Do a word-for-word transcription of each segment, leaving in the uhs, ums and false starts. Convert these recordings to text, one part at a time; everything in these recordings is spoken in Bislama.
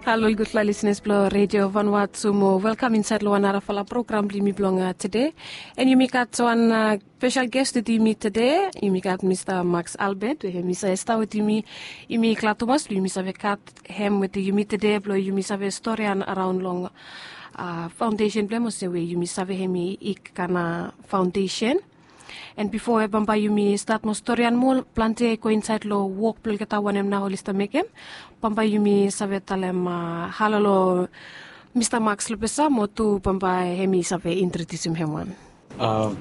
Halo ol gudfala lisenas blong Redio Vanuatu mo welkam insaed long wan narafala program blong yumi blong tede. An yumi gat wan spesel ges wetem yumi tede. Yumi gat Mista Max Albert we hemi save stap wetem yumi. Yumi glad tumas blong yumi save gat hem wetem yumi tede blong yumi save storian araon long faondesen blong hem olsem we yumi save hemi Ikana Faondesen. An bifo we bambae yumi stat mo storian moa plante i go insaed long wok blong olgeta wanem nao oli stap mekem, bambae yumi save talem halo long Mista Max Lopesa mo tu bambae hemi save introdiusim hem wan.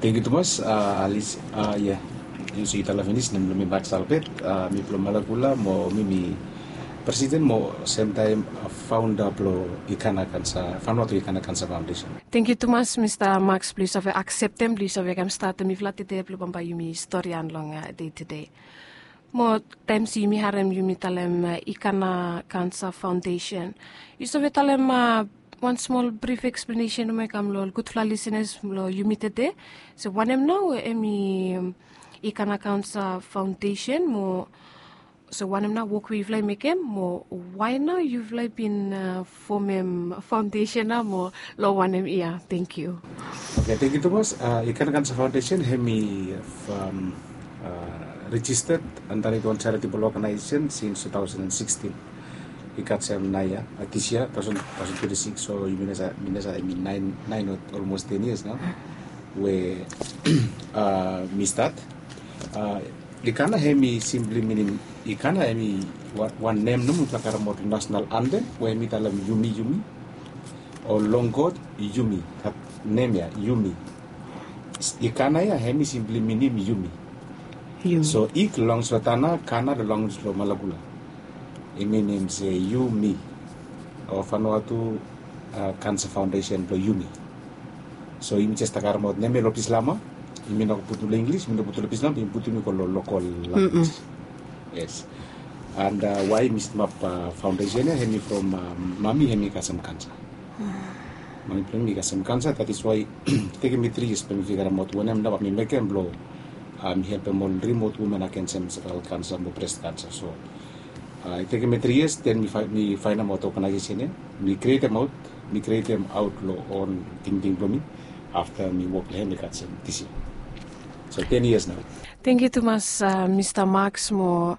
Tengkiu tumas, Alis. Ia, yu se yu talem finis, nem blong mi Max Albert. Mi blong Malakula mo mi mi presiden mo semtaem faonda blong Ikana Kansa, Vanuatu Ikana Kansa Faondesen. Tengkiu tumas Mista Max blong yu save akseptem blong yu save kam statem mifala tede blong bambae yumi storian long dei tede. Mo taem se yumi harem yumi talem Ikana Kansa Faondesen, yu save talem wan smol brif eksplenesen nomo i kam long ol gudfala lisenas blong yumi tede, se wanem nao hemi Ikana Kansa Faondesen mo se wanem nao wok we yufala i mekem mo wae nao yufala i bin fomem faondesen nao mo long wanem yia? Tengkiu. Oke, tengkiu tumas. Ikana Kansa Faondesen hemi rejisted andaret wan charitable oganaesen sins tu taosen an sikstin. I gat sem nae yia, dis yia taosen twenti sikis, so yumi no save, mi no save, hemi naen, naen o olmos ten yias nao we mi stat. Ikana hemi simpli minim, Ikana hemi wan nem nomo mifala karemaot long nasonal antem we hemi talem yumi yumi, o long God yumi. Gat nem ya yumi. Ikana ya hemi simpli minim yumi. So Ik longos long Tanna, Kana longos long Malakula. I minim se yumi, o Vanuatu Kansa Faondesen blong yumi. So yumi jes stap karemaot nem ya long Bislama. Yumi no putum long Inglis, yumi no putum long Bislama, yumi putum i go long lokol language. Yes. And wae mi stemap faondesen ya, hemi from mami hemi kasem kansa. Mami blong mi kasem kansa, that is why i tekem mi tri yias blong mi figaremaot wanem nao bae mi mekem blong mi helpem ol rimot women agensem servaikal kansa mo bres kansa. So i tekem mi tri yias, den mi faenemaot oganaesesen ya. Mi krietem aot, mi krietem aot long on tingting blong mi. Afta mi wok long hem i gat sem dis yia. So ten yias nao. Tengkiu tumas Mista Max mo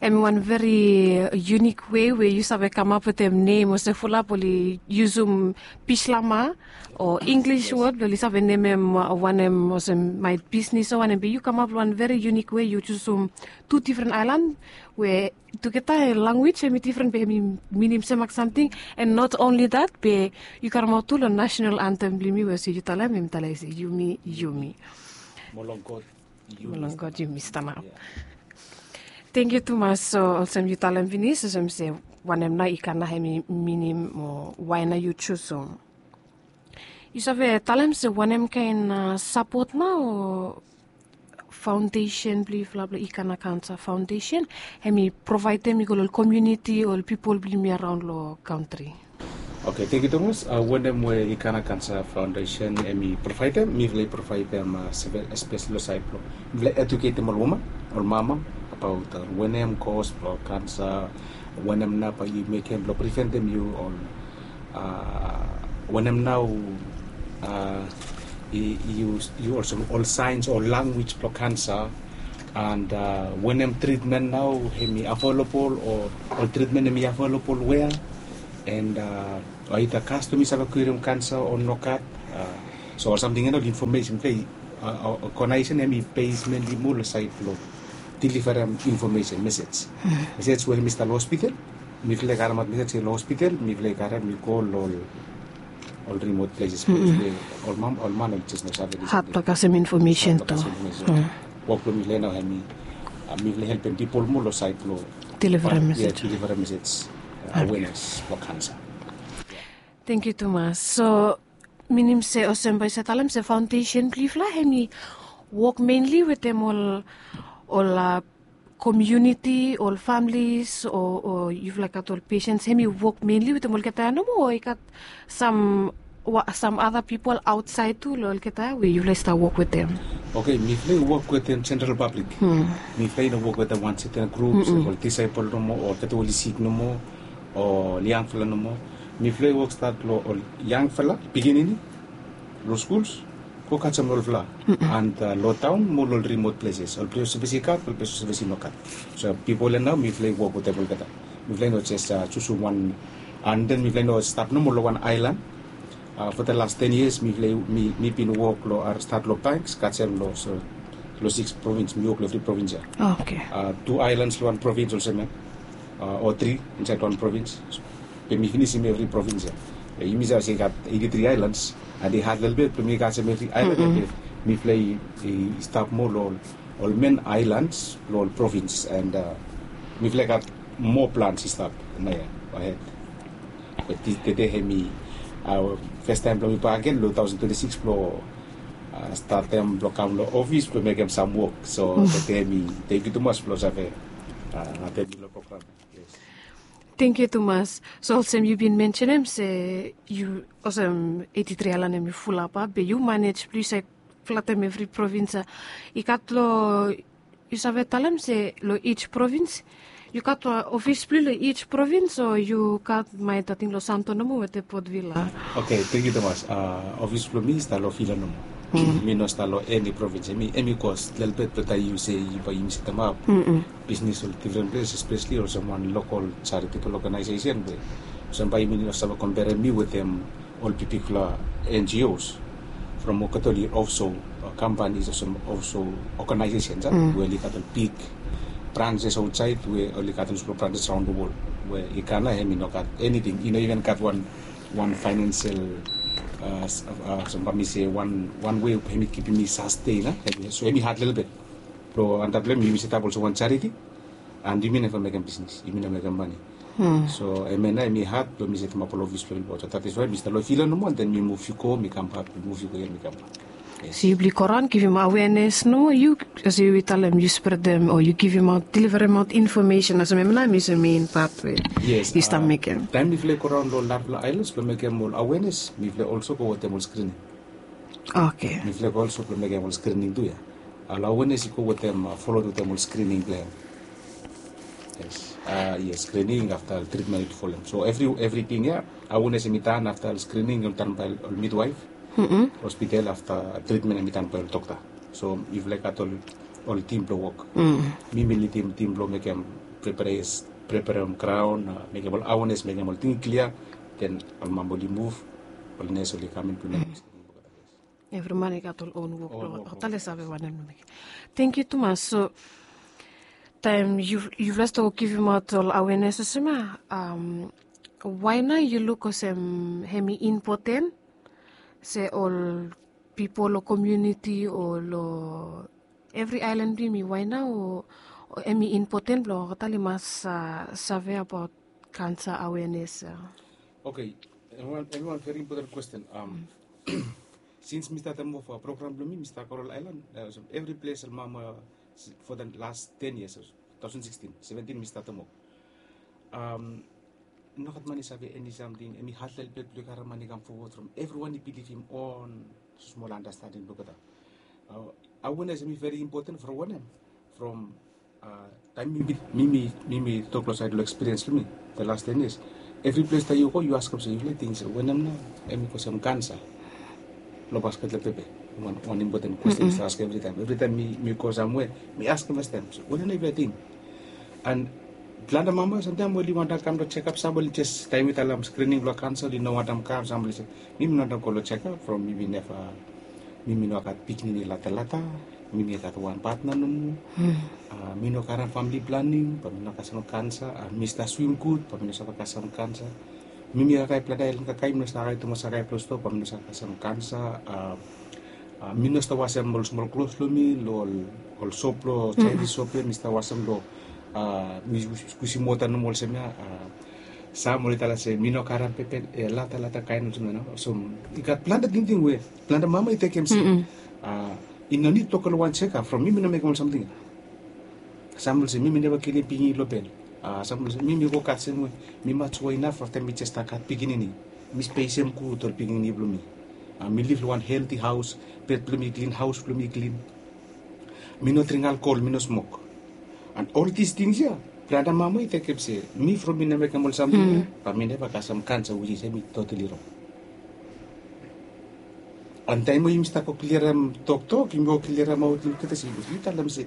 hemi wan veri yunik wei we yu save kamap wetem nem olsem fulap oli yusum Bislama o Inglis wod blong oli save nemem wanem olsem maet bisnis o wanem, be yu kamap long wan veri yunik wei, yu jusum tu difren aelan we tugeta lanwis hemi difren be hemi minim semak samting. And not only that, be yu karemaot tu long nasonal antem blong yumi we olsem yu talem, hemi talem se yumi yumi. Mo long God yumi stanap. Tengkiu tumas. So olsem yu talem finis olsem se wanem nao Ikana hemi minim mo wae nao yu jusum. Yu save talem se wanem kaen sapot nao o faondesen blong yufala blong Ikana Kansa Faondesen hemi provaedem i go long ol komuniti o ol pipol blong yumi araon long kantri? Oke, tengkiu tumas. Wanem we Ikana Kansa Faondesen hemi provaedem, mifala i provaedem espeseli long saed blong mifala i eduketem ol woman, ol mama abaot wanem kos blong kansa, wanem nao bae yu mekem blong priventem yu, ol wanem nao yu olsem ol saens o lanwis blong kansa, and wanem tritmen nao hemi avelabol o ol tritmen hemi avelabol wea, and aida kastom i save kwirem kansa o nogat. So ol samting ya nao ol infomesen blong oganaesen hemi besmen i moa long saed blong deliverem infomesen, mesej. Mesej we hemi stap long hospital, mifala i karemaot mesej ya long hospital, mifala i karem i go long ol rimot pleses. Ol man, ol man oli jes no save. Hat blong kasem infomesen tu. Wok blong mifala nao hemi mifala i helpem pipol moa long saed blong deliverem mesej, deliverem mesej, awenes blong kansa. Tengkiu tumas. So minim se olsem bae yu save talem se faondesen blong yufala hemi wok menli wetem ol, ol komuniti, ol familis o yufala gat ol pesens, hemi wok menli wetem olgeta ya nomo o i gat sam, sam ada pipol aotsaed tu long olgeta ya we yufala i stap wok wetem? Oke, mifala i wok wetem jeneral pablik. Mifala i no wok wetem wan seten grup se ol disaepol nomo o olgeta oli sik nomo. Ol yangfala nomo. Mifala i wok stat long ol yangfala pikinini long skuls, go kasem olfala. And long taon mo long ol rimot pleses, ol ples olsem i gat, ol ples olsem i no gat. So pipol ya nao mifala i wok wetem olgeta. Mifala i no jes jusum wan, and then mifala i no stap nomo long wan aelan. Fo the last ten years mifala i, mi bin wok long, stat long banks kasem long, long six provins, mi wok long evri provins ya. Tu aelans long wan provins olsem ya, o tri insaed wan provins. Be mi finisim evri provins ya. Be yumi save se i gat eiti tri aelans, and i had lelebet blong mi kasem evri aelan ya. Be mifala i stap moa long ol men aelans long ol provins, and mifala i gat moa plans i stap naoia ahed. Be tede hemi fastaem blong mi bakegen long taosen twenti sikis blong statem blong kam long ofis blong mekem sam wok. So tede mi tengiu tumas blong save atem mi long program. Tengiu tumas. So olsem yu bin mensenem se yu, olsem eiti tri aelan hemi fulap, be yu manej blong yu save flatem evri provins ya. I gat long, yu save talem se long each provins yu gat ofis blong yu long each provins, o yu gat maet ating long Santo nomo wetem Port Vila? Oke, tengiu tumas. Ofis blong mi i stap long Vila nomo. Mi no stap long eni provins. Hemi, hemi kos lelebet blong taem yu se yu, bae yumi setemap bisnis long difren ples, espeseli olsem wan lokol charitable organization, be olsem bae yumi no save komperem mi wetem ol bigbigfala N G Os. From olgeta oli offshore companies olsem offshore organizations we oli gat ol big branches aotsaed, we oli gat ol smol branches raon the world. We i kam nao hemi no gat eniting, i no iven gat wan, wan financial, olsem bae mi se wan, wan wei hemi kipim mi sasten. So hemi had lelebet. Blong antap long hem yumi setap olsem wan charity, and yumi neva mekem bisnis, yumi no mekem mane. So hemia nao hemi had blong mi setemap ol ofis blong mi long Port. So that is why mi stap long Vila nomo, and then mi muv i go, mi kambak, mi muv i go ia, mi kambak. So yu blong i go raon givim awenes nomo, yu, olsem yu talem yu spredem o yu givimaot, deliveremaot infomesen, olsem hemia nao hemi olsem mein pat we yu stap mekem. Taem mifala i go raon long narafala aelans blong mekem ol awenes, mifala i olso go wetem ol skrining. Oke. Mifala i go olso blong mekem ol skrining tu ia. Ol awenes i go wetem, folot wetem ol skrining blong hem. Yes. Yes, skrining afta tritmen i folem. So evri, evriting ia, awenes hemi tan afta ol skrining, hemi tan bae ol midwaef. Hospital afta tritmen hemi tan bae ol dokta. So mifala i gat ol, ol tim blong wok. Mi mi lidim tim blong mekem prepares, preparem graon, mekem ol awenes, mekem ol ting i klia. Then ol mama oli muv, ol nes oli kam in blong mekem skrining blong olgeta. Evri man i gat ol on wok blong olgeta, oli save wanem blong mekem. Tengiu tumas. So taem yu, yufala stap givimaot ol awenes olsem ia, wae nao yu luk olsem hemi impoten se ol pipol long komuniti o long evri aelan blong yumi, wae nao hemi impoten blong olgeta oli mas save abaot kansa awenes ia? Oke, hemi wan, hemi wan veri impoten kwesten. Sins mi statem of program blong mi, mi stap go long ol aelan, evri ples ol mama, for the last ten years, taosen sikstin, seventin mi statem of. Nogat man i save eni samting, hemi had lelebet blong i karem man i kam fowod from evriwan i bilivim on smol andastanding blong olgeta. Awenes hemi veri impoten from wanem? From taem mi, mi, mi, mi tok long saed long ekspiriens blong mi the last ten years. Evri ples taem yu go, yu askem se, yufala ting se wanem nao hemi go olsem kansa. Long basket long pepe. Wan, wan impoten kwesten mi save askem evritaem. Evritaem mi, mi go samwe, mi askem fastaem, se wanem nao yufala ting? And plante mama samtaem oli wantem kam long jekap, sam oli jes, taem mi talem skrining blong kansa, oli no wantem kam, sam oli se, mi mi no wantem go long jekap from mi mi neva, mi mi no gat pikinini latalata, mi mi gat wan patna nomo. Mi no karem famili planing, bae mi no kasem kansa. Mi stap swim gud, bae mi no save kasem kansa. Mi mi kakae plante aelan kakae, mi no stap kakae tumas kakae blong stoa, bae mi no save kasem kansa. Mi no stap wasem ol smol klos blong mi long ol sop, long Chinese sop ia, mi stap wasem long, mi skusim wota nomo olsem ia. Sam oli talem se mi no karem pepe, latalata kaen olsem ia nao. So i gat plante tingting we plante mama i tekem se i no nid blong go long wan jekap from mi mi no mekem ol samting ia. Sam oli se mi mi neva kilim pikinini long bel. Sam oli se mi mi wok had semwe, mi matuo inaf afta mi jes stap gat pikinini. Mi spesem gud ol pikinini blong mi. Mi liv long wan helti haos, bed blong mi klin, haos blong mi klin. Mi no dring alkol, mi no smok. And ol dis tings ia Planti mama i tekem se mi from mi no mekem ol samting ya, ba mi neva kasem kansa, which is hemi totally wrong. An taim we yumi stap go klirim toktok, yumi go klirim aut olgeta se yu talem se,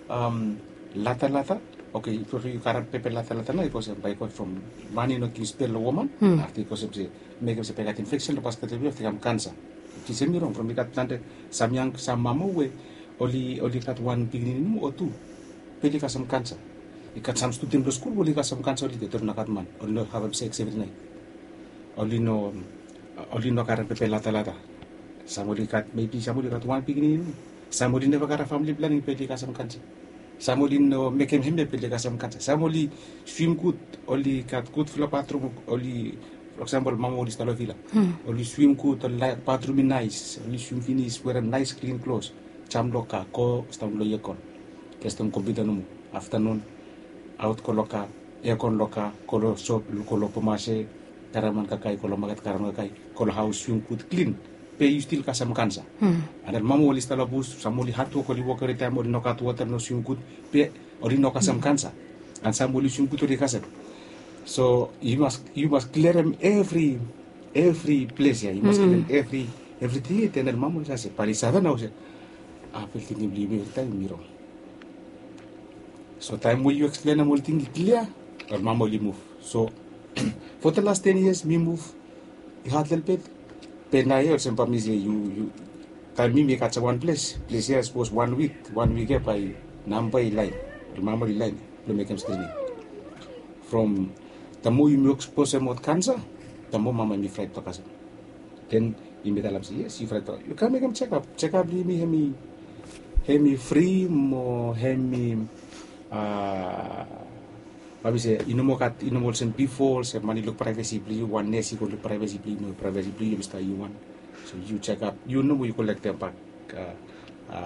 um, latalata. Oke, yu karem pepe latalata nao i go olsem, bae i go from man i no givim spel long woman. Afta i go olsem se mekem se bae i gat infeksen long basket blong yu, afta i kam kansa. Which is hemi rong from i gat planti sam yang, sam mama we oli, oli gat wan pikinini nomo o tu, be oli kasem kansa. I gat sam student long skul we oli kasem kansa, oli ded, oli no gat man, oli no havem seks evri naet. Oli no, oli no karem pepe latalata. Sam oli gat, maybe sam oli gat wan pikinini nomo. Sam oli neva karem famili planing, be oli kasem kansa. Sam oli no mekem hemia, be oli kasem kansa. Sam oli swim gud, oli gat gudfala batrum, oli, for example, mama oli stap long vila. Oli swim gud, oli laek batrum i naes, oli swim finis, werem naes klin klos. Jam long ka, go stap long ekon. Gestem kompiuta nomo. Aftanun, aot go long ka, ekon long ka, go long sop, go long Bomase, karem wan kakae, go long maket karem kakae, go long haos, swim gud klin. Be yu stil kasem kansa. An den mama oli stap long bus, sam oli hadwok, oli wok evritaem, oli no gat wota, no swim gud, be oli no kasem kansa. An sam oli swim gud, oli kasem. So yu mas, yu mas klirim evri, evri ples ya, yu mas klirim evri, evriting ya, den ol mama oli save se, bae oli save nao se, a, fel tingting blong yumi evritaem i rong. So taem we yu eksplenem ol ting i klia, ol mama oli muv. So for the last ten years mi muv, i had lelebet. Be naoia olsem bae mi se yu, yu, taem mi, mi kasem wan ples, ples ya sapos wan wik, wan wik ya bae namba i laen, ol mama oli laen blong mekem skrining. From the more yumi eksposem aot kansa, the more mama hemi fraet blong kasem. Den yumi talem se, yes, yu fraet blong, yu kam mekem jekap. Jekap blong yumi hemi, hemi fri mo hemi, a, bae mi se, i no moa gat, i no moa olsem bifo, olsem man i luk praevesi blong yu, wan nes i go luk praevesi blong yu, no, praevesi blong yu hemi stap yu wan. So yu jekap, yu nomo yu kolektem bak, a, a,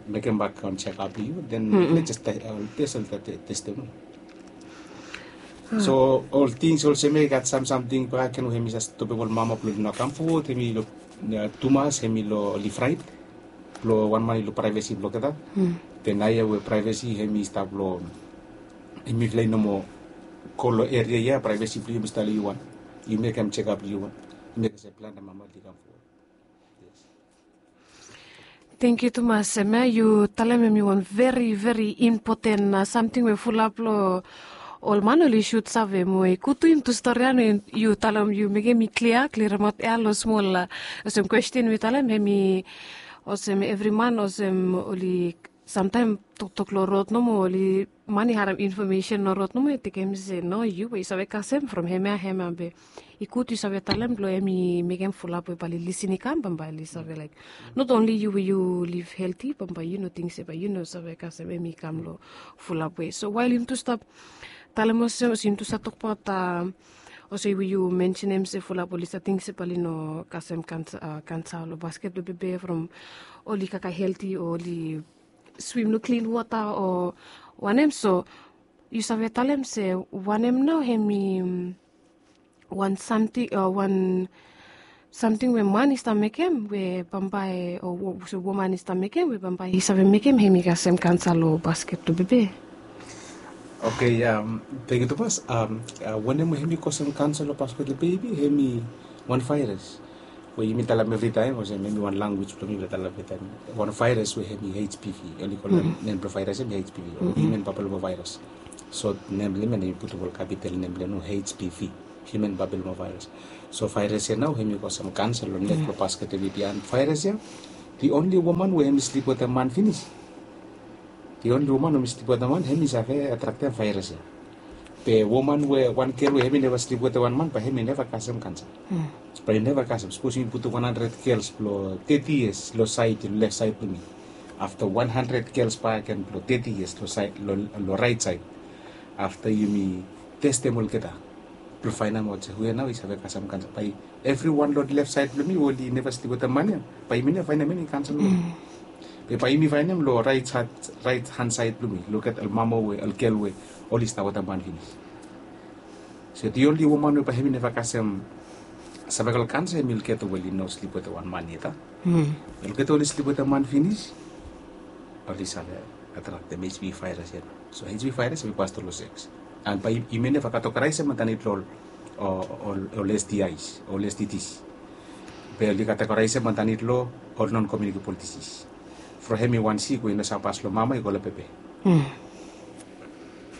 mekem bak wan jekap blong yu, den let's just, a, tes, ol te, testem. So ol tings olsem ya i gat sam samting bakegen we hemi save stopem ol mama blong oli no kam fowod, hemi lo, a, tumas, hemi lo oli fraet blong wan man i luk praevesi blong olgeta. Be naoia we praevesi hemi stap lo, hemi flai nomo, go lo eria ya, praevesi blong yu hemi stap lo yu wan. Yu mekem jekap lo yu wan. Yu mekem se plante mama oli kam fowod. Yes. Tangkiu tumas, Emma, yu talem hemi wan veri, veri impoten, a, samting we fulap lo ol man oli sud save mo i gud tu yumi tu stori ya, no, yu talem, yu mekem i klia, klirim aot ya lo smol, a, olsem kwesten we yu talem, hemi olsem evri man, olsem oli samtaem toktok lo rod nomo, oli man i harem infomesen lo rod nomo, i tekem se, no, yu we yu save kasem from hemia, hemia be i gud yu save talem blong hemi mekem fulap we bae oli lisin i kam, bambae oli save laek. Not only yu we yu liv helti, bambae yu no ting se bae yu no save kasem hemi kam lo fulap we. So wael yumi tu stap talem olsem, olsem yumi tu stap tokbaot, a, olsem we yu mensenem se fulap oli save ting se bae oli no kasem kansa, a, kansa lo basket blong bebe from oli kakae helti o oli swim lo klin wota o wanem, so yu save talem se wanem nao hemi, mm, wan samting, o wan samting we man i stap mekem we bambae, o wo-, so woman i stap mekem we bambae i save mekem hemi kasem kansa lo basket blong bebe? Oke, a, tangkiu tumas. A, wanem we hemi kosem kansa lo basket blong bebe, hemi wan vaeras we yumi talem evritaem, olsem hemi wan lanwis blong mi we talem evritaem. Wan vaeras we hemi H P V, oli kolem nem blong vaeras hemi H P V, o human papillomavirus. Sot nem blong hem, hemi putum ol kapital nem blong hem, H P V, human papillomavirus. So vaeras ya nao hemi kosem kansa lo nek blong basket blong bebe. An vaeras ya, the only woman we hemi slip wetem man finis, the only woman we hemi slip wetem man, hemi save atraktem vaeras ya. Be woman we, wan gel we hemi neva slip wetem wan man, bae hemi neva kasem kansa. Bae i neva kasem. Sapos yumi putum wan handred gels blong teti yias lo saed, lo lef saed blong mi. Afta wan handred gels bakegen blong teti yias lo saed, lo, lo raet saed. Afta yumi testem olgeta blong faenemaot se hu ya nao i save kasem kansa. Bae evriwan lo lef saed blong mi we oli neva slip wetem man ya, bae yumi neva faenem eni kansa lo hem. Be bae yumi faenem lo raet han, raet han saed blong mi, lo olgeta ol mama we, ol gel we oli stap wetem man finis. So the only woman we bae hemi neva kasem cervical cancer hemi olgeta we oli no slip wetem wan man yet. Olgeta oli slip wetem man finis, oli save atraktem H P V vaeras ya. So H P V virus hemi pas tru lo seks. An bae yumi neva kategoraisim andanit lo ol, ol, ol S T Is, ol S T Ds. Be oli kategoraisim andanit lo ol non communicable disease. From hemi wan sik we i no save pas lo mama i go lo pepe.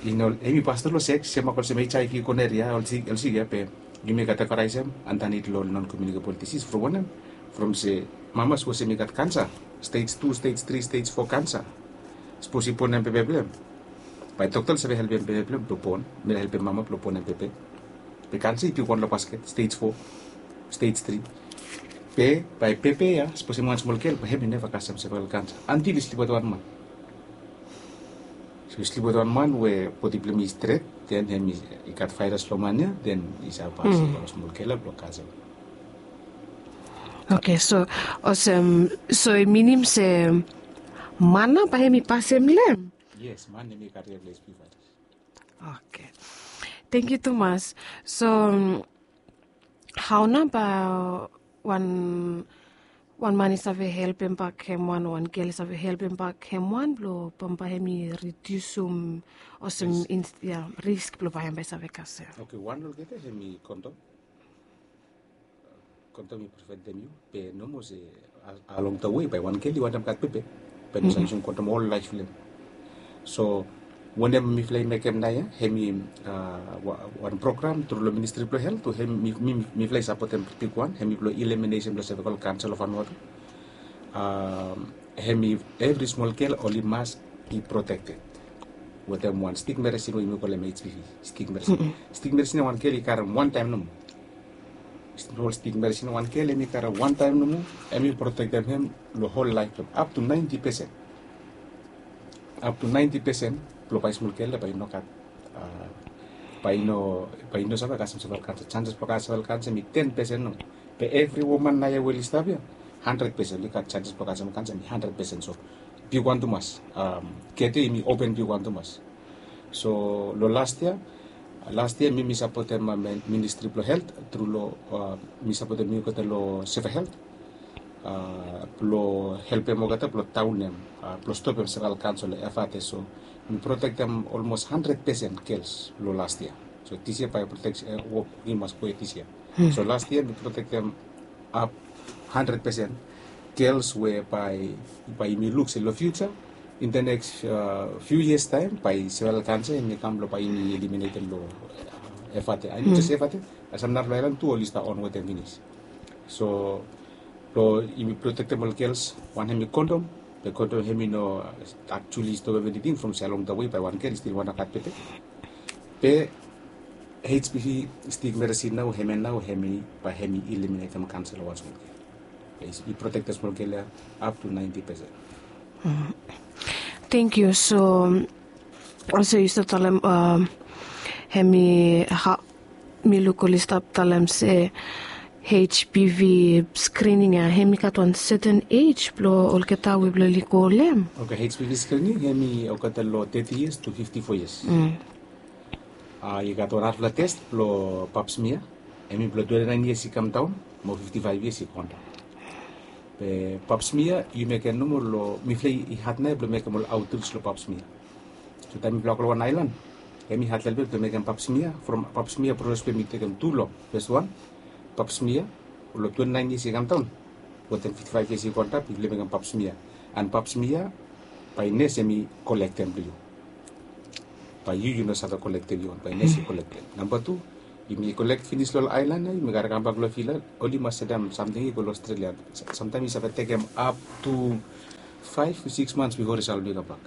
I no, hemi pas tru lo seks, sem mak olsem H I V, gonorrhea, ol sik, ol sik ia, be yumi kategoraisim andanit lo ol non communicable disease. From wanem? From se mama sapos hemi gat kansa, stage two, stage three, stage four kansa. Sapos i bonem pepe blong hem, bae dokta oli save helpem pepe blong hem blong bon, hemi helpem mama blong bonem pepe. Be kansa i bigwan lo basket, stage four, stage three. Be bae pepe ia, sapos hemi wan smol gel, bae hemi neva kasem cervical kansa antil i slip wetem wan man. So i slip wetem wan man we bodi blong hem i stret, den hemi i gat virus lo man ia, den i save pas lo wan smol gel ia blong kasem. Oke, so olsem, so i minim se man nao bae hemi pasem long hem? Yes, man hemi kariam lo H P V virus. Oke. Tangkiu tumas. So, hao nao bae wan, wan man i save helpem bak hemwan, wan gel i save helpem bak hemwan blong bambae hemi ridiusum olsem, ia, risk blong bae hem bae i save kasem? Oke, wan olgeta hemi kondom. Kondom i preventem yu, be nomo se along the way bae wan gel i wantem gat pepe, bae i no save yusum kondom ol laef blong hem. So wanem mifala i mekem naoia, hemi wan program tru lo Ministri blong Helt, we hemi, mifala i sapotem bigwan, hemi blong elimination blong cervical cancer lo Vanuatu. Hemi evri smol gel oli mas i protekted wetem wan stik meresin we yumi kolem H P V. Stik meresin, stik meresin ia wan gel i karem wan taem nomo. Ol stik meresin wan gel hemi karem wan taem nomo, hemi protektem hem lo hol laef blong hem up to ninety percent. Up to ninety percent blong bae smol gel ia bae i no gat, bae i no, bae i no save kasem cervical cancer. Chances blong kasem cervical cancer hemi ten percent nomo. Be evri woman naoia we oli stap ia, hundred percent oli gat chances blong kasem cancer hemi hundred percent. So bigwan tumas. Gate ia hemi open bigwan tumas. So lo last yia, last yia mi, mi sapotem Ministri blong Helt tru lo, mi sapotem mi olgeta lo Seva Helt, blong helpem olgeta blong daonem, blong stopem cervical cancer lo Efate. So mi protektem olmos hundred percent gels lo last yia. So this year bae protek, wok i mas go ia this year. So last yia mi protektem ap hundred percent gels we bae, bae yumi luk se lo future, in the next few years taem, bae cervical cancer hemi kam blong bae yumi eliminatem lo Efate. Ae no jes Efate, olsem narafala aelan tu oli stap on wetem finis. So blong yumi protektem ol gels, wan hemi kondom, be kondom hemi no actually stopem eniting from se along the way bae wan gel i stil wantem gat pepe. Be H P V stik meresin nao, hemia nao hemi bae hemi eliminatem cancer lo wan smol gel. I protektem smol gel ia up to ninety percent. Tangkiu. So olsem yu stap talem, hemi, hao mi luk oli stap talem se H P V screening ia hemi gat wan certain age blong olgeta we blong oli go long hem? Oke, H P V screening hemi olgeta lo thirty years to fifty-four years. I gat wan narafala test blong Pap smear, hemi blong twenty-nine years i kam daon mo fifty-five years i kondaon. Be Pap smear yu mekem nomo lo, mifala i hat naoia blong mekem ol outreach lo Pap smear. So taem mifala go lo wan aelan, hemi hat lelebet blong mekem Pap smear. From Pap smear proses blong hem i tekem tu long. Fes wan, Pap smear lo twenty-nine years i kam daon wetem fifty-five years i go antap, yufala i mekem Pap smear. An Pap smear bae nes hemi kolektem blong yu. Bae yu, yu no save kolektem yu own, bae nes i kolektem. Namba tu, yumi kolek finis lo ol aelan ia, yumi kare kambak lo vila, oli mas sedam samting i go lo Australia. Samtaem i save tekem up to five to six months bifo result blong i kambak.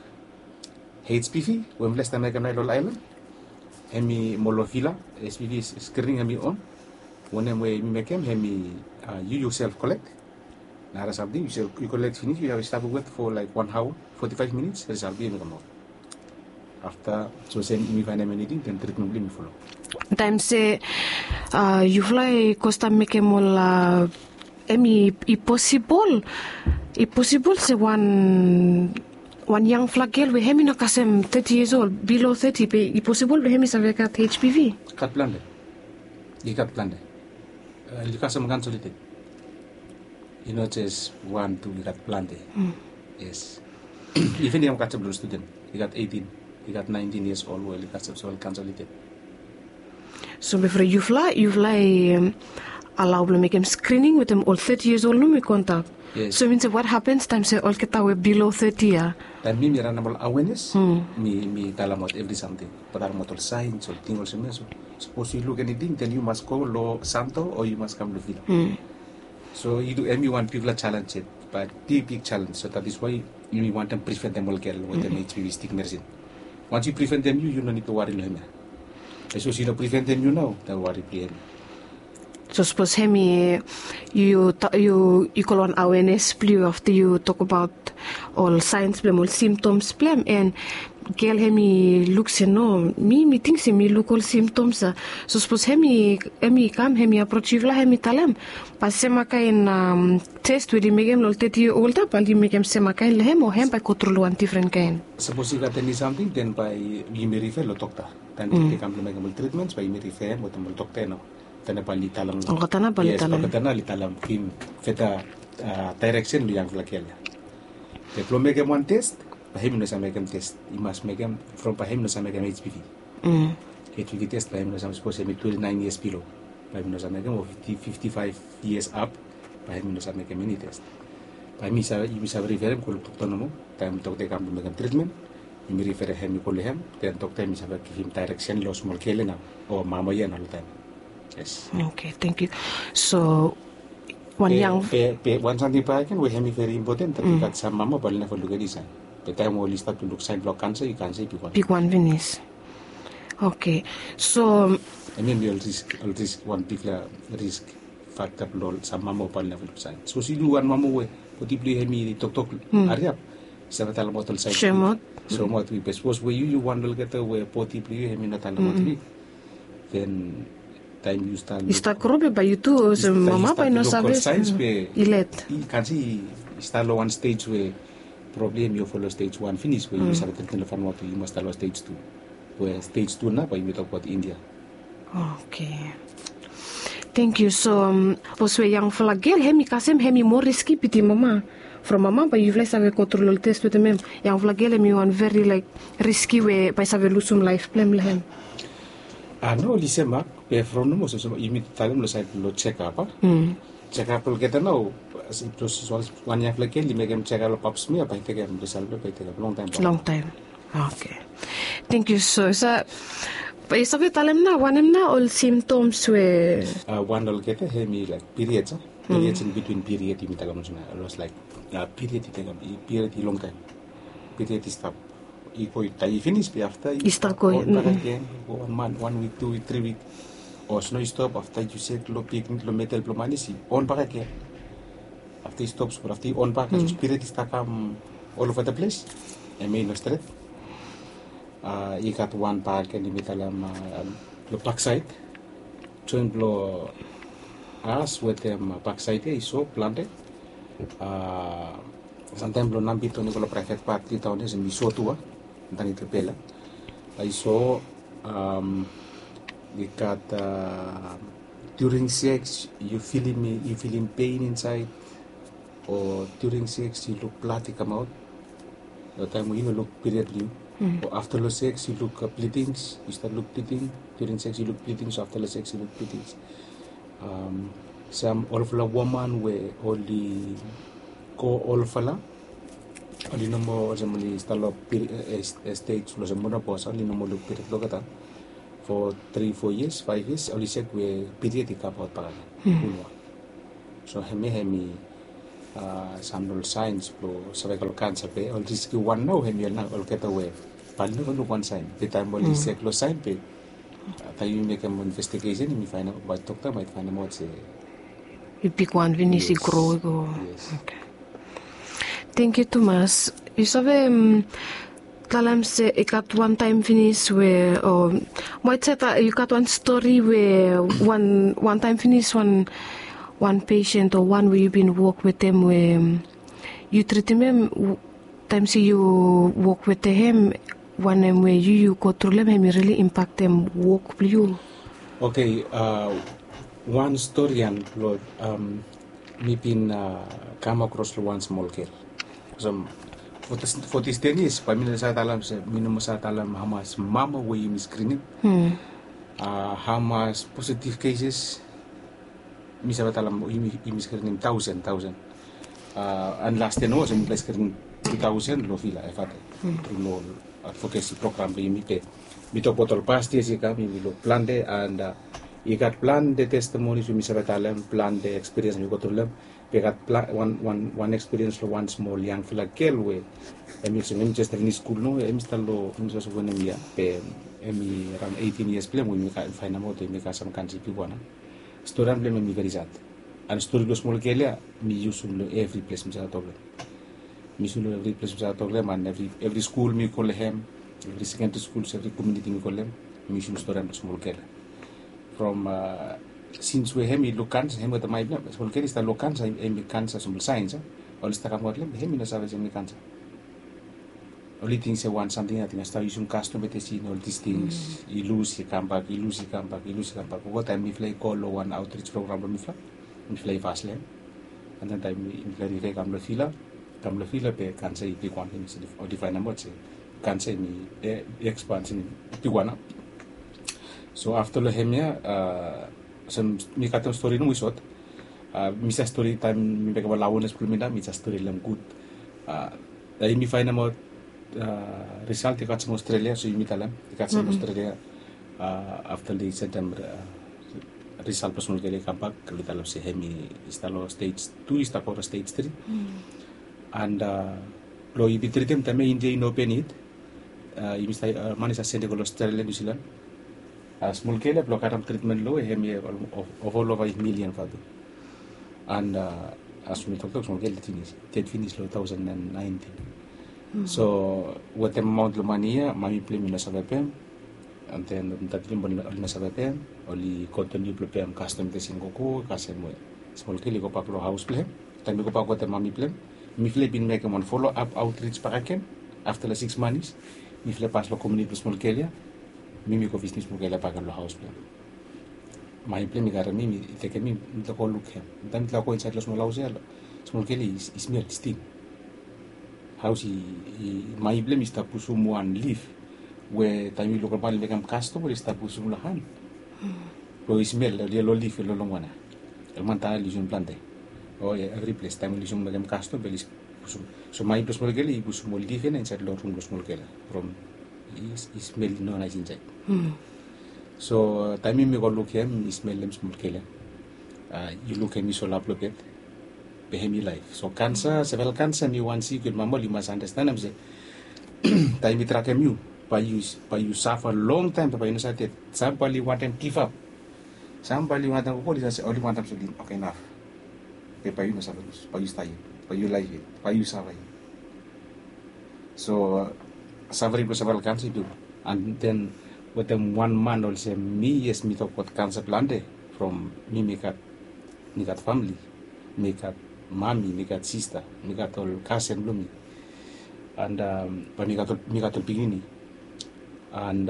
H P V we mifala i stap mekem naoia lo ol aelan, hemi mo lo vila, H P V screening hemi on. Wanem we yumi mekem hemi, yu, yu self collect. Nara samting, yu self, yu kolek finis, yu have to stap wet for like one hour, forty-five minutes, result blong hem i kamaot. Afta sapos yumi faenem eniting, den tritmen blong hem i follow. Taem se yufala i go stap mekem ol, hemi, i posibol, i posibol se wan, wan yangfala gel we hemi no kasem thirty years old, below thirty, be i posibol blong hemi save gat H P V? Gat plante. I gat plante. Oli kasem cancer oli ded. I no jes wan, tu, i gat plante. Yes. Iven yangfala studen, i gat eighteen. I gat nineteen years old we oli gat sepsol kansa oli ded. So bifo yufala yufala i alau blong mekim skrining wetem ol thirty years old nomo i go antap. So i min se wat hapens taim se olgeta we bilo thirty ya? Taim mi mi ranem ol awenes, mi mi talemaot evri samting. Bat talemaot ol sains ol ting olsem ya. So sapos yu luk eniting den yu mas go long santo o yu mas kam long vila. So i du em i wan bigfala challenge yet, bat big big challenge. So that is why yumi wantem preventem ol gel wetem HPV stick medicine. Once yu preventem yu yu no nid blong wari long hem ya. Sapos yu no preventem yu nao den wari blong hem. So sapos hem i yu yu yu kol wan awenes blong yu afta yu tokbaot ol sains blong hem ol simtoms blong hem, en gel hem i luk se no, mi mi ting se mi luk ol simtoms ya. So sapos hem i hem i kam hem i aproj yufala hem i talem, bae sema kaen tes we oli mekem long ol teti yia ol ya bae oli mekem sema kaen long hem o hem bae i go tru long wan difren kaen? Sapos i gat eni samting den bae yumi rife long dokta. Taem i kam blong mekem ol tritmens bae yumi rife hem wetem ol dokta ya nao. Tana bae oli talem. Olgeta na bae oli talem. Yes, olgeta na oli talem givim feta daereksen long yangfala gel ya. Be blong mekem wan tes bae hem i no save mekem tes. I mas mekem from bae hem i no save mekem HPV. HPV tes bae hem i no save, sapos hem i twenty nine years bilo bae hem i no save mekem, o fifty five years ap bae hem i no save mekem eni tes. Bae yumi save riferem go long dokta nomo. Taem dokta i kam blong mekem tritmen yumi riferem hem i go long hem, den dokta hem i save givim daereksen long smol gel ya nao o mama ya nao long taem. Yes. Okay, thank you. So wan yang be wan samting bakegen we hem i veri impoten, that i gat sam mama bae oli neva luk eni saen. Be taem we oli stap tu luk saen blong kansa i kansa i bigwan. Bigwan finis. Okay. So hemia mi ol risk ol risk wan bigfala risk fakta blong ol sam mama bae oli neva luk saen. Sapos yu wan mama we bodi blong yu hem i toktok hariap, i save talemaot ol saen. Soemaot. Soemaot we be sapos we yu yu wan olgeta we bodi blong yu hem i no talemaot we den taem yu stap i stap gro be bae yu tu olsem mama bae i no save. Saens be i let i kansi i stap long wan stej we problem yu folo stej wan finis we yu save tretem long fanua be yu mas stap long stej tu. We stej tu nao bae yumi tokbaot India. Okay. Thank you. So sapos we yangfala gel hem i kasem hem i moa riski bitim mama. From mama bae yufala i save go tru long ol tes wetem hem. Yangfala gel hem i wan veri laik riski we bae i save lusum laef blong hem long hem. A no oli sem a be from nomo olsem yumi talem long saed long jekap a jekap olgeta nao. Sapos wan yangfala gel i mekem jekap long pap smia bae i tekem resal blong hem bae i tekem longtaem. Longtaem. Okay. Thank you so sa. Bae yu save talem nao wanem nao ol simtoms we wan olgeta hem i laik piried sa. Piried in bitwin piried yumi talem olsem ya los laik piried i tekem piried i longtaem. Piried i stap i go i dai i finis be afta i stap go on bakegen. Go wan man wan wik tu wik tri wik. O sno i stop afta yu sek long pik long medel blong manis i on bakegen. Afta i stop smol afta i on bak spirit i stap kam ol ova da ples. Em i no stret. I gat wan bakegen yumi talem long baksaed. Joen blong as wetem baksaed ya i so plante. Samtaem blong nambit oni go long praevet pat litaon ya sem i so tu a. Antanit long bel ya i so. I gat during sex yu filim yu filim pein insaed o during sex yu luk blad i kamaot. Long taem we yu no luk piried blong yu o afta long sex yu luk blidings yu stat luk bliding. During sex yu luk blidings o afta long sex yu luk blidings. Sam olfala woman we oli go olfala oli no moa olsem oli stap long stej olsem menopos oli no moa luk piried olgeta. For tri fo yias faef yias oli sek we piried i kamaot bakegen. Bulwa. So hemia hem i sam long ol saens blong save go long kansa be ol riski wan nao hem i ol nao olgeta we bae oli neva luk wan saen be taem oli sek long saen be taem yumi mekem investigesen yumi faenemaot bae dokta bae faenemaot se i bigwan finis i gro i go. Tengkiu tumas. Yu save talem se i gat wan taem finis we o maet se yu gat wan stori we wan taem finis wan pesen o wan we yu bin wok wetem we yu tritim hem taem se yu wok wetem hem wanem we yu yu go tru long hem hem i rili impaktem wok blong yu? Oke. Wan stori ya blong mi bin kam akros long wan smol gel. Olsem For this ten years, bae mi no save talem se mi no moa save talem hamas mama we yumi skrinim. Hamas positive cases, mi save talem yumi skrinim taosen taosen. And last ten years mipela i skrinim tu taosen long vila evate, tru long advocacy program blong yumi. Pe mi tok abaot ol past years i kam, yumi luk plante and i gat plante testimonies we mi save talem, plante ekspiriens mi go tru long em. Be gat wan ekspiriens long wan smol yangfala gel we em i olsem em i jes finis skul nao, em i stap long em i save wanem yia, be em i araon eighteen years blong em we mi fainamaot we mi gat sam kansa i bigwan. Storian blong em em i veri sad. And stori blong smol gel ya mi yusum long evri ples mi save tok long em. Mi yusum long evri ples mi save tok long em, and evri skul mi go long em, evri sekendri skul, evri komuniti mi go long em, mi yusum storian blong smol gel ya. From sins we em i luk kansa, em wetem ai blong em, smol gel i stap luk kansa, em i kansa smol sains a. Oli stap kam aot long em, em i no save se em i kansa. Oli ting se wan samting, ating a stap yusum kastom, betesin, ol dis tings i lus i kambak, i lus i kambak, i lus i kambak. Oltaem mifala i go long wan outreach program blong mifala, mifala i fas long em. And then taem mifala riri kam long vila, kam long vila be kansa i bigwan, oli fainamaot se kansa em i ekspans, em i bigwan nao. So afta long em ya, olsem mi katem stori nomo i sot. Mi save stori taem mi mekem ol awenes blong mi nao, mi save stori long em gud. Taem yumi fainamaot risalt i kasem Australia, so yumi talem i kasem Australia. Afta oli sentem risalt blong smol gel i kambak, oli talem se em i stap long stage tu, i stap go long stage tri. And blong yumi tritem taem ya, India i no open yet. Yumi stap, man i save sende go long Australia, New Zealand. Smol gel ya blong karem tritmen long we em i ova ol ova eight million vatu. And as mi toktok, smol gel i finis, ded finis long two thousand and nineteen. So wetem amaon long mane ya, mami blong em i no save pem. And then dadi blong em oli no save pem. Oli kontiniu blong pem kastom, betesin, gogo kasem we smol gel i gobak long haos blong em. Taem i gobak wetem mami blong em, mifala i bin mekem wan follow up outreach bakegen. Afta long six months mifala i pas long komuniti blong smol gel ya. Mi mi go visitim smol gel ya bakegen long haos blong em. Mami blong em i karem mi, i tekem mi, mifala go lukim. Taem mifala go insaed long smol haos ya, smol gel i smel, i stink. Haos i, mami blong em i stap pusum wan lif we taem i luk ol man i mekem kastom, oli stap pusum long han. Blong i smel, ol yelo lif, ol longwan ya. Ol man tara oli yusum plante. O ya, evri ples taem oli yusum mekem kastom be oli pusum. So mami blong smol gel i pusum ol lif ya nao insaed long rum blong smol gel ya, from i smel i no nais insaed. So taem yumi go lukim, i smelem smol gel ya. Yu lukim i solap long bed, be hem i laef. So kansa, sevel kansa hem i wan sik we mama oli mas andastanem se taem i trakem yu, bae yu, bae yu safa longtaem, be bae yu no save ded. Sam bae oli wantem givap. Sam bae oli wantem, oli wantem se oli, oke, naf. Be bae yu no save lus, bae yu stap yet, bae yu laef yet, bae yu safa yet. So safering blong sevel kansa i bigwan. And then wetem wan man olsem mi, yes, mi tokbaot kansa plante. From mi, mi gat, mi gat famili, mi gat mami, mi gat sista, mi gat ol kasen blong mi, and bae mi gat ol, mi gat ol pikinini. And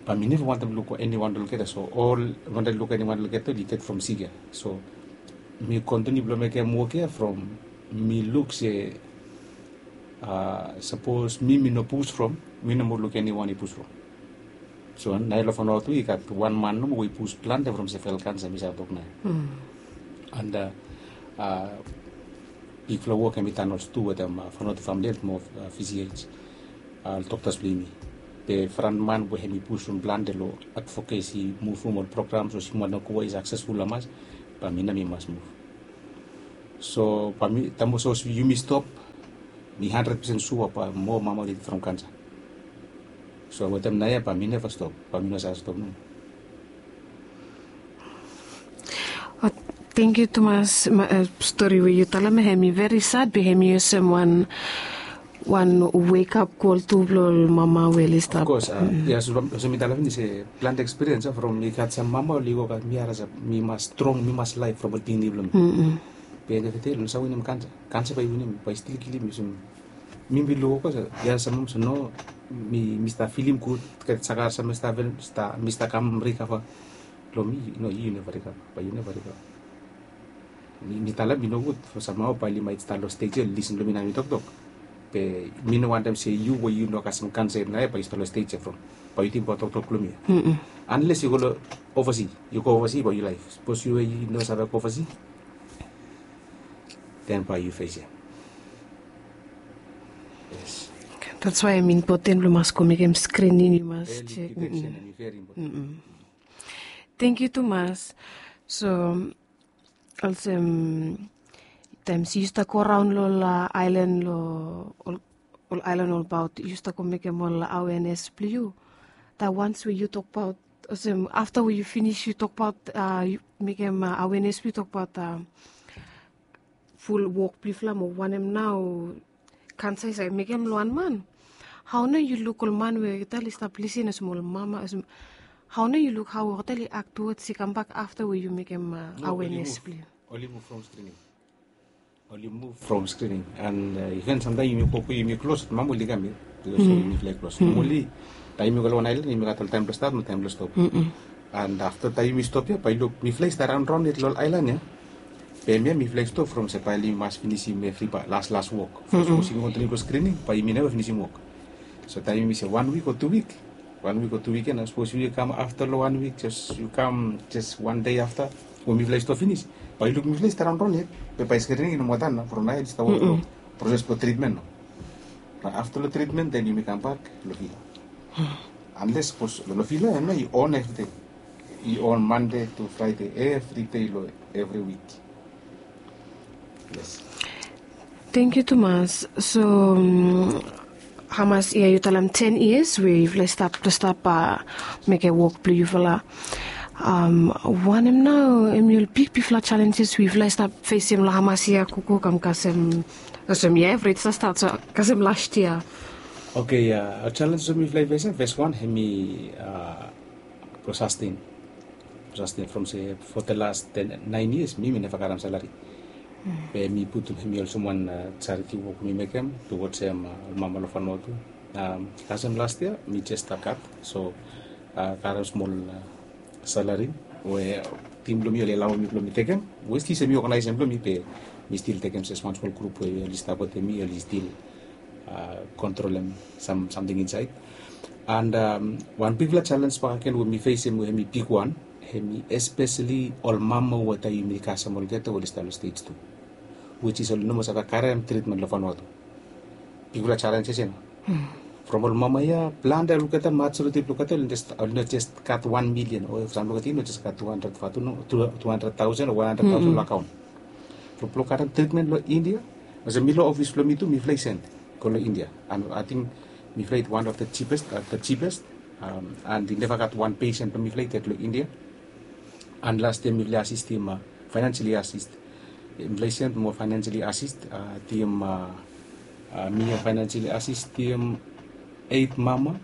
bae mi neva wantem luk eniwan olgeta. So ol wantem luk eniwan olgeta oli ded from sik ya. So mi kontiniu blong mekem wok ya from mi luk se sapos mi, mi no pus from, mi no moa luk eniwan i pus from. So naoia long Vanuatu i gat wan man nomo we i pus plante from sevel kansa, mi save tok naoia. And bigfala wok hem i tan olsem tu wetem Vanuatu Family Health mo VCH, ol doktas blong yumi. Be frontman we hem i pusum plante long advocacy, muvum ol programs olsem wanem, go we i saksesful hamas, bae mi nao mi mas muv. So bae mi, taem olsem yumi stop, mi handred pesen sua bae moa mama oli ded from kansa. So wetem naoia bae mi neva stop, bae mi no save stop nomo. Tangkiu tumas. Stori we yu talem hem i veri sad, be hem i olsem wan, wan wake up call tu blong ol mama we oli stap. Of course, ya, olsem mi talem finis se plante ekspiriens from mi gat sam mama oli wok, mi harim se mi mas strong, mi mas laef from ol pikinini blong mi. Be end of the day oli no save winim kansa. Kansa bae i winim, bae i stil kilim yu. So mi bin luk, of course, ya, sam mama se no, mi, mi stap filim gud, gat saka sam mi stap, mi stap kam rikava. Long mi, no, yu neva rikava, bae yu neva rikava. Mi, mi talem i nogud, for samhao bae oli maet stap long stej ya, lisen long mi nao mi toktok. Be mi no wantem se yu we yu no kasem kansa yet nao ya bae yu stap long stej ya from. Bae yu tingbaot toktok blong mi ya. Unless yu go long ovasi, yu go ovasi bae yu laef. Sapos yu we yu no save go ovasi, then bae yu fesem. Yes. That's why hemi impoten blong mas go mekem screening, yu mas chek. Early detection hemi very important. Thank you tumas. So olsem taem yu stap go raon long ol aelan, long ol aelan olbaot, yu stap go mekem ol awenes blong yu. That once we yu tokbaot, olsem afta we yu finis yu tokbaot, mekem awenes blong yu tokbaot ful wok blong yufala mo wanem nao kansa i save mekem long wan man. Hao nao yu luk ol man we olgeta oli stap lisin olsem ol mama, olsem hao nao yu luk hao olgeta oli act towards i kambak afta we yu mekem awenes blong yu? Oli muv from screening. Oli muv from screening. And even samtaem yumi go, yumi klos, mama oli kam ya. Bikos yumi flai klos. Mama oli, taem yumi go long wan aelan yumi gat ol taem blong stat mo taem blong stop. And afta taem yumi stop ya bae yu luk mifala i stap raon raon yet long ol aelan ya. Be hemia mifala i stop from se bae oli mas finisim evri bae las las wok. Sapos yumi kontiniu go screening bae yumi neva finisim wok. So taem yumi se wan wik o tu wik, wan wik o tu wik ya nao, sapos yu kam afta long wan wik, jes yu kam jes wan dei afta we mifala i stop finis, bae yu luk mifala i stap raon raon yet. Be bae screening i no moa dan nao, from nao ya oli stap wok long proses blong tritmen nao. Nao afta long tritmen then yumi kambak long vila. Unless sapos long vila ya nao i on evridei. I on Mande tu Fraede evridei long evri wik. Yes. Thank you tumas. So hamas yia yu talem? Ten years we yufala i stap, stap mekem wok blong yufala. Wanem nao hemi ol bigbigfala challenges we yufala i stap fesem long hamas yia gogo kam kasem, olsem yia evri yia i stap stat, so kasem las yia? Oke, ya, challenges we mifala i fesem, fes wan hemi blong sustain. Sustain from se for the last ten, nine years mi, mi neva karem salari. Be mi putum hemi olsem wan charity wok mi mekem towards ol mama long Vanuatu. Kasem las yia mi jes stap kat, so karem smol salari we tim blong mi oli alaoem mi blong mi tekem, we stil se mi oganaesem blong mi, be mi stil tekem se wan smol grup we oli stap wetem mi, oli stil kontrolem sam, samting insaed. And wan bigfala jalens bakegen we mi fesem we hemi bigwan, hemi espeseli ol mama we taem yumi kasem olgeta oli stap long stej tu, which is oli no moa save karem tritmen long Vanuatu. Bigfala jalens ya se nao from ol mama ya, plante olgeta, majoriti blong olgeta oli no jes gat wan milian, o sam blong olgeta i no jes gat tu handred vatu, no, tu handred taosen o wan handred taosen long akaon. Blong, blong karem tritmen long India, olsem mi long ofis blong mi tu mifala i send go long India. And ating mifala i wan of the cheapest, the cheapest. And i neva gat wan pesen blong mifala i ded long India. And las yia mifala i asistim, financially assist, mifala i send moa financially assist, tim mi ya financially assistim eit mama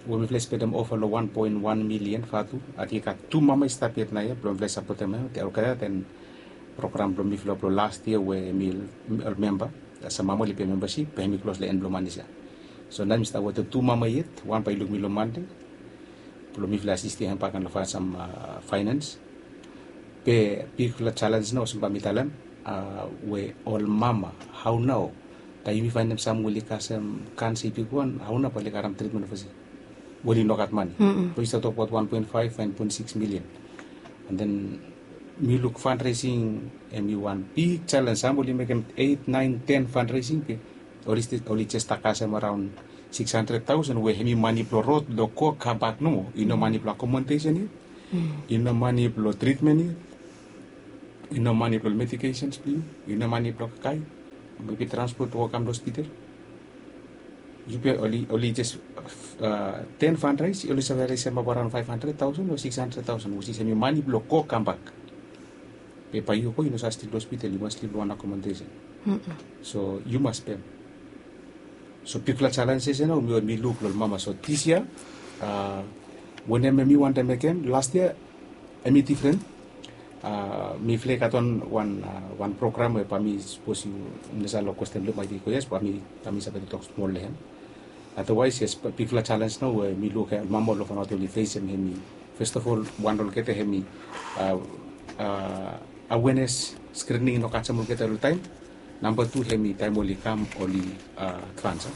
we mifala i spendem ova long wan poen wan milian vatu. Ating i gat tu mama i stap yet nao ya blong mifala i sapotem olgeta, then program blong mifala blong las yia we mi ol memba, olsem mama oli pem membasip, be hemi klos long en blong manis ya. So nao mi stap wetem tu mama yet, wan bae i luk mi long Mande blong mifala i asistim hem bak long sam finance. Be bigfala jalens nao olsem bae mi talem, we ol mama, hao nao taem yumi faenem sam we oli kasem kansa i bigwan, hao nao bae oli karem tritmen overseas we oli no gat mane? Blong i stap tokbaot wan poen faef, wan poen sikis milian. And then mi luk fundraising hemi wan big jalens. Sam oli mekem eit, naen, ten fundraising, be oli jes stap kasem araon sikis handred taosen we hemi mane blong rod blong go kambak nomo. I no mane blong akomodesen yet, i no mane blong tritmen yet, i no mane blong medications blong yu, i no mane blong kakae, mebi transpot o kam long hospital. Yu be oli, oli jes ten fundraise oli save resem ap araon faef handred taosen o sikis handred taosen, which is hemi mane blong go kambak. Be bae yu go yu no save slip long hospital, yu mas slip long wan akomodesen. So yu mas pem. So bigfala jalens ya se nao mi luk long ol mama. So dis yia wanem hemi wantem mekem, las yia hemi difren. Mifala i gat wan, wan program we bae mi, sapos yu, mi no save long kwesten blong yu, maet i go yes, bae mi, bae mi save tok smol long hem. Otherwise yes, bigfala jalens nao we mi luk mama long Vanuatu oli fesem hemi, first of all, wan olgeta hemi awenes, skrining i no kasem olgeta long taim. Namba tu hem i taim oli kam oli kansa.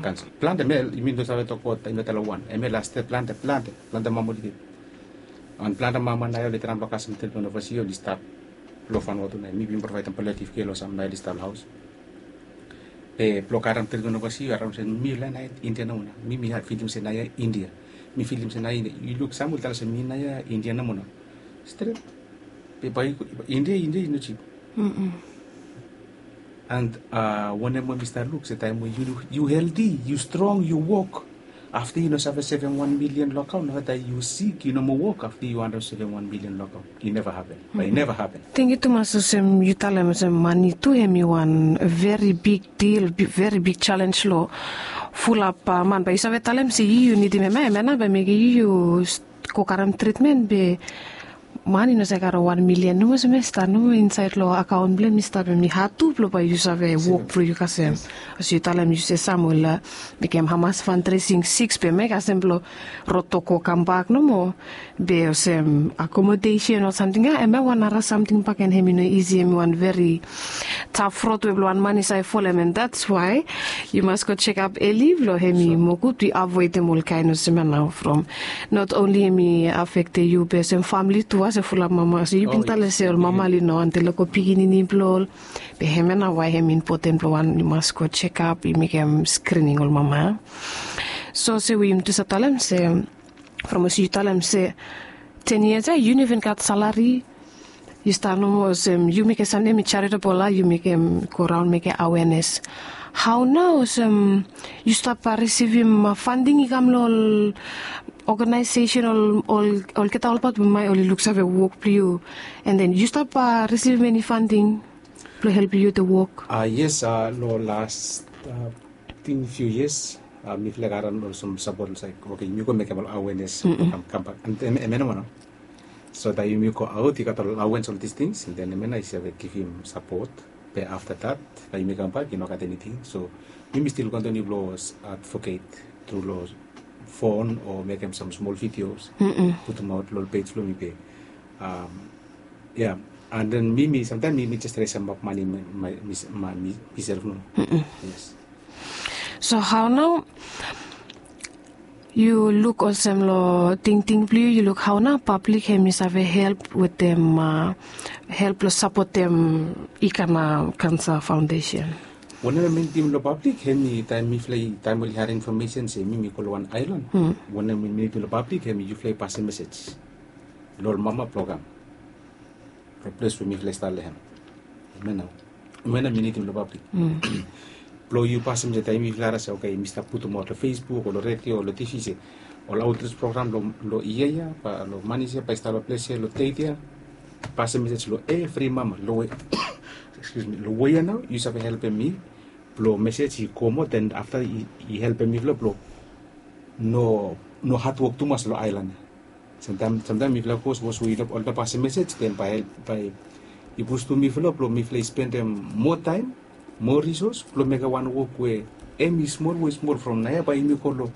Kansa plante mel i min to save tok bot i no tala wan em el aste plante plante plante mama oli git. An plante mama nai oli tram long kasem tritmen ovasi oli stap long fanua tu nai mi bin provaidem paletiv ke long sam nai oli stap long haus. Be blong karem tritmen ovasi araun se mi lain nai india nomo na mi mi filim se nai india. Mi filim se nai india yu luk sam oli tala se mi nai india nomo na. Stret. Be bai india india i no jip. And wanem we mi stap luk se taim we yu heldi yu strong yu wok, afta yu no save sevem wan milian long akaun nogada yu sik yu no moa wok afta yu wantaim sevem wan milian long akaun. I neva hapen. Bai i neva hapen. Tengiu tumas olsem yu talem olsem mani tu hem i wan veri big dil, veri big selens long fulap man bai yu save talem se yu yu nidim hem ya hem ya nao bai mekim yu yu go karem tritmen be man i no save karem wan milian nomo olsem ya i stap nomo insaed long akaon blong hem i stap hem i had tu blong bai yu save wok blong yu kasem. Olsem yu talem yu se sam ol mekem hamas fandresing siks be hem ya i kasem blong rod tok go kambak nomo. Be olsem akomodesen o samting ya hem ya wan nara samting baken hem i no isi hem i wan veri taf rod we blong wan man i save folem and dats wae yu mas go sekap eli blong hem i mogud wi avoedem ol kaen olsem ya nao from not onli hem i afekte yu be olsem famli tu a se fulap mama olsem yu bin tale se ol mama oli no antelo go pikinini blong ol. Be hem ya nao wae hem impoten blong wan yu mas go sekap yu mekem skrining ol mama. So olsem we yumi tu save talem se from olsem yu talem se ten yias ya yu no even gat salari. Yu stap nomo olsem yu mekem samting hem i jaritabol a yu mekem go raon mekem awenes. Hao nao olsem yu stap risivim fanding i kam long ol oganaesesen ol olgeta olbaot bambae oli luksave wok blong yu an den yu stap risivim eni fanding blong helpim yu de wok? Yes, long las tin fiu yias mifala i gat ran olsem sapot olsem oke yumi go mekem ol awenes kam kambak. Em ya nao wan nao so taim yumi go aot i gat ol awens ol distings den em ya nao i save givim sapot. Be afta dat taim yumi kambak i no gat eniting so yumi stil kontiniu blong advoket tru long fon o mekem sam smol vidios putumaot long ol pej blong mi be. Ya, an den mi mi samtaim mi mi jes trai samap mani miself no. Yes. So hao nao yu luk olsem long tingting blong yu yu luk hao nao pablik hem i save help wetem help long sapotem ikana kansa faondesen? Wanem em i nidim long pablik hem i taim mifala i taim oli harim infomesen se mi mi go long wan aelan. Wanem em i nidim long pablik hem i yufala i pasem mesej long ol mama blong kam long ples we mifala i stap long hem. Em ya nao mi nidim long pablik blong yu pasem se taim mifala ara se oke mi stap putumaot long facebook o long redio o long tivi se ol autris program long yia ya ba long manis ya ba i stap long ples ya long deit ya. Pasem mesej long evri mama long we long we ya nao yu save helpem mi blong mesej i go moa den afta i helpem mifala blong no no hatwok tumas long aelan ya. Samtaim samtaim mifala go sapos we oli no pasem mesej den bai bai i pustum mifala blong mifala i spendem moa taim moa risos blong mekem wan wok we em i smol we i smol from naoia bai yumi go long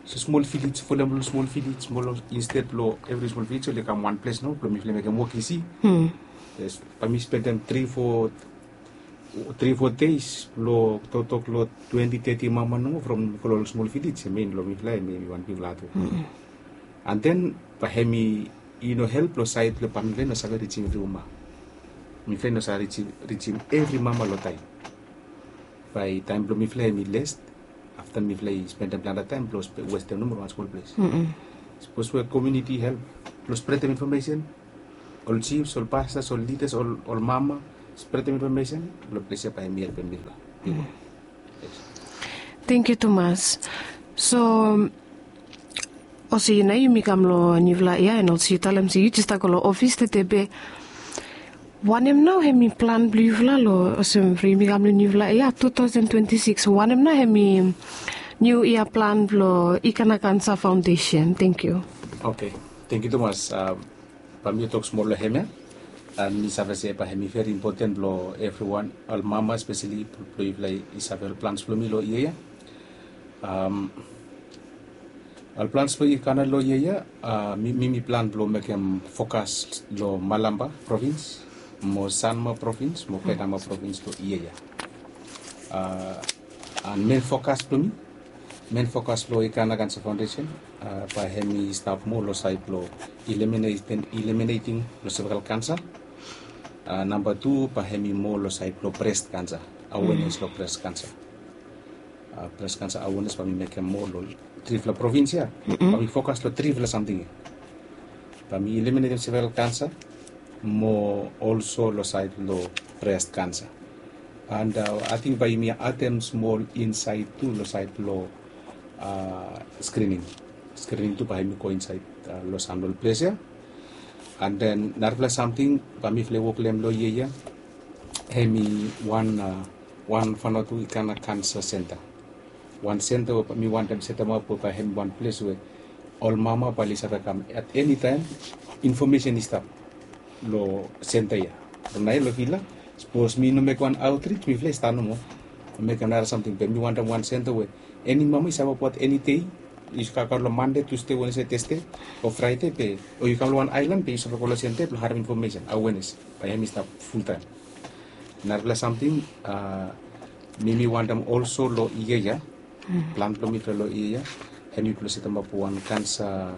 smol vilej folem long smol vilej smol insted blong evri smol vilej oli kam wan ples nao blong mifala mekem wok isi. Bai mi spendem tri fo tri fo deis blong toktok long twenti teti mama nomo from mi go long ol smol vilej em ya long mifala em ya mi wan bigfala hatwok. An den bai hem i no help long saed blong bai mifala i no save rijim evri mama. Mifala i no save rijim evri mama long taim bai taim blong mifala em i les afta mifala i spendem plante taim blong westem nomo long wan smol ples. Sapos we komiuniti i help blong spretem infomesen ol jifs ol pastas ol lidas ol mama spretem infomesen long ples ya bai em i helpem mifala. Tengkiu tumas. So olsem yu nao yumi kam long niufala yia en olsem yu talem se yu jes stap go long ofis tede be wanem nao hem i plan blong yufala long olsem from yumi kam long niufala yia tu taosen twenti sikis wanem nao hem i niu yia plan blong ikana kansa faondesen? Tengkiu. Oke. Tengkiu tumas. Bai mi tok smol long hem ya an mi save se bai hem i veri impoten blong evriwan ol mama spesali blong yufala i save ol plans blong mi long yia ya. Ol plans blong ikana long yia ya, mi mi plan blong mekem fokas long Malampa provins mo Sanma provins mo Penama provins long yia ya. An men fokas blong mi, men fokas blong ikana kansa faundesen, bae hem i stap moa long saed blong eliminating long sevekal kansa. Namba tu bae hem i moa long saed blong brest kansa, awenes long brest kansa. Brest kansa awenes bae mi mekem moa long trifala provins ya. Bae mi fokas long trifala samting ya. Bae mi eliminating sevekal kansa mo olso long saed long brest kansa. An ating bae yumi adem smol insaed tu long saed blong skrining. Skrining tu bae hem i go insaed long sam long ples ya. An den narafala samting bae mifala i wok long hem long yia ya, hem i wan wan fanotu ikana kansa senta. Wan senta we mi wantem setemap we bae hem i wan ples we ol mama bae oli save kam at eni taem, infomesen i stap long senta ya. From naoia long vila, sapos mi no mekem wan aotrij, mifala i stap nomo mekem nara samting. Be mi wantem wan senta we eni mama i save wok eni dei, yu save kam long Mande, Tusde, Wenesde, Tasde o Fraede, be o yu kam long wan aelan be yu save go long senta ya blong harem infomesen, awenes bae hem i stap fultaem. Narafala samting mi mi wantem olso long yia ya, plan blong mifala long yia ya, hem i blong setemap wan kansa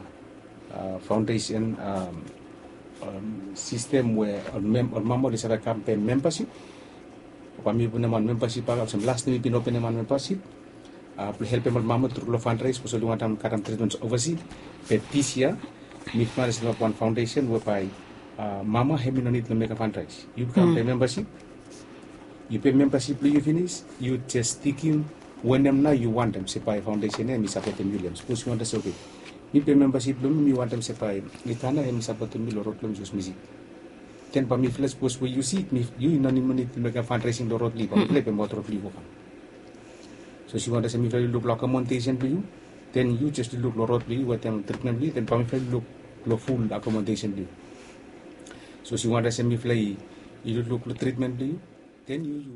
faundesen sistem we ol mama oli save kam pem membasip. Bae mi putum wan membasip bak olsem las taem mi bin openem wan membasip blong helpem ol mama tru long fandraes sapos oli wantem karem tritmen ovasi. Be dis yia mifala i setemap wan faundesen we bae mama hem i no nid long mekem fandraes. Yu kam pem membasip, yu pem membasip blong yu finis, yu jes tikim wanem nao yu wantem se bae faundesen ya hem i sapotem yu long hem. Sapos yu wantem se, oke, mi pem membasip blong mi, mi wantem se bae ikana hem i sapotem mi long rod blong mi sapos mi sik. Den bae mifala, sapos we yu sik, yu i no nid long mekem fandraesing long rod blong yu, bae mifala i pem aot rod blong yu go kam. Sapos yu wantem se mifala i luk long akomodesen blong yu, den yu jes i luk long rod blong yu wetem tritmen blong yu, den bae mifala i luk long ful akomodesen blong yu. Sapos yu wantem se mifala i lukluk long tritmen blong yu, den yu yu